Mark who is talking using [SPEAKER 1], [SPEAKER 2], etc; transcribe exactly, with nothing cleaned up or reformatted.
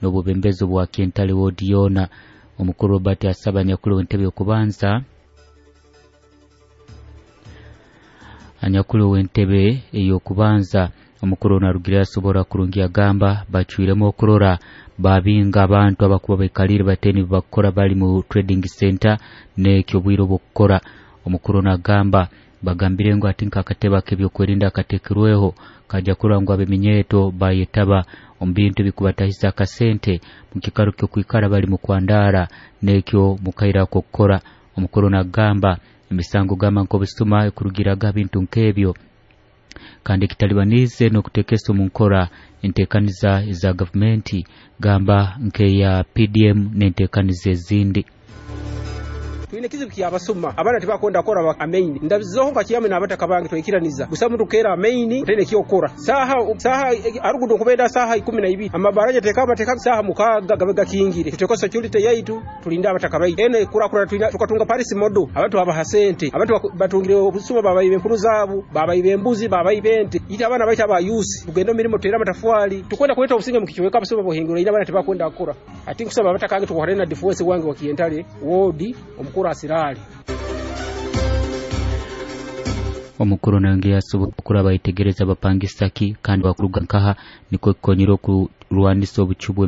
[SPEAKER 1] N'obwebembezi bwa Kyentale ward yoona. Omukuru Robert asaba anyakuli w'entebe y'okubanza anyakuli w'entebe ey'okubanza. Omukuru narugire asobora kurungi agamba bacwiremu okurora babinga abantu abakuba baikalire bateni bakora bali mu trading center n'ekyo bwire obwokukora. Omukuru nagamba bagambire ngu ati nk'akatebe ak'ebyokwerinda akateekirweho kajja kurora ngu ab'eminyeeto bayetaba omu bintu ebikubatahisa akasente mu kikaro ky'okwikara bali mu kwandara n'ekyo mukaire ak'okukora. Omukuru nagamba emisango gamba nk'obusuma ekurugiraga bintu nk'ebyo kandi ekitalibanize n'okuteekesa omu nkora enteekaniza eza gavumenti gamba nk'eya P D M n'enteekaniza ezindi.
[SPEAKER 2] Twine kizibu kyabasuma abaana tibakwenda kukora amaini ndabizoho nka kiyame n'abataka bange twikiraniza gusa muntu kera amaini tene kyokora saha saha arugudo kubenda saha ikumi na ibiri amabaraja tekaba teka saha mukaga gabega kingire tuteko security yaitu tulinda abataka baitu ene kura kura tukatunga Paris modo abantu abaha sente abantu batungire obusuma babayibe empuru zabu babayibe embuzi babayibe ente ita abana baita aba youth tugenda mirimo tera matafwali tukwenda kuleta obusinge mu kichweka abasuma bohingura ina abana tibakwenda kukora ati nkusaba abataka bange tukohare na defense wange wa Kientale wodi omukuru asirali.
[SPEAKER 1] Omukuru nange yasobola kuraba itegereza abapangisaki kandi bakuruga nkaha niko kikonyera okurwanisa obucubu.